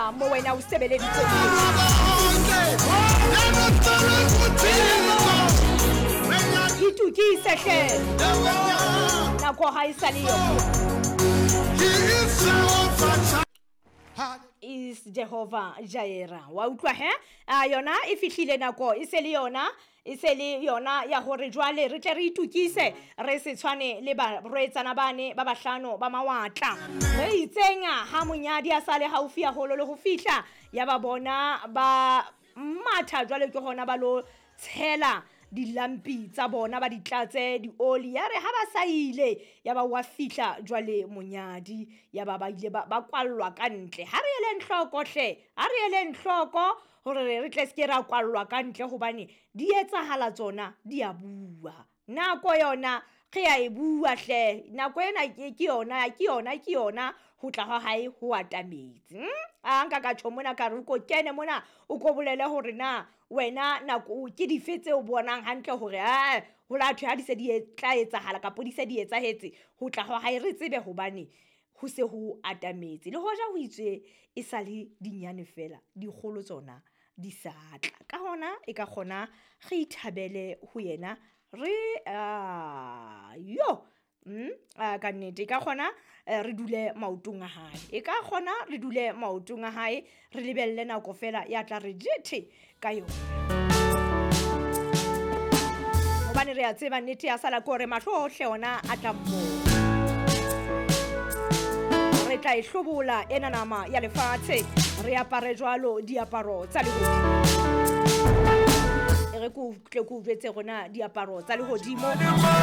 etsahala mo wena o sebeleditseng. Itukise hle, nako ha e sa le yo. Is Jehovah Jireh. Wa utlwa he? A yona e fihlile nako e se le yona, e se le yona ya hore jwale re tle re itukise, re se tshwane le barwetsana bane ba bahlano ba mawatla. Re itseng ha monyadi a sale haufi haholo le ho fihla, ya ba bona ba matha jwale ke hona ba lo tshela dilampi tsa bona, ba di tlatse dioli. Ya re ha ba sa ile, ya ba wa fihla jwale monyadi, ya ba ba ile ba kwallwa ka ntle. Ha re eleng hloko hle, ha re eleng hloko hore re tle se ke ra kwallwa ka ntle, hobane di etsahala tsona, di a bua. Nako yona re a e bua hle, nako ena ke yona, ke yona, ke yona, ho tla ha hae ho atametse. A nka ka tjho mona ka re o ko kene mona, o ko bolele hore na wena nako ke dife tseo bonang hantle hore a ho la thwe ha di se di tla etsahala kapa di se di etsahetse, ho tla ha hae re tsebe hobane ho se ho atametse. Le hoja ho itswe e sa le dinyane fela, dikgolo tsona di sa tla. Ka hona e ka kgona re ithabele ho yena, re yo ka nnete e ka kgona re dule maotong a hae, e ka kgona re dule maotong a hae, re lebelle nako fela ya tla re jethe ka yona, hobane re a tseba nnete ya sala ke hore mahlo ohle ona a tla mmona. Re tla e hlobola ena nama ya lefatshe, re apare jwalo diaparo tsa lehodimo. E re ke o tle ke o jwetse rona diaparo tsa lehodimo.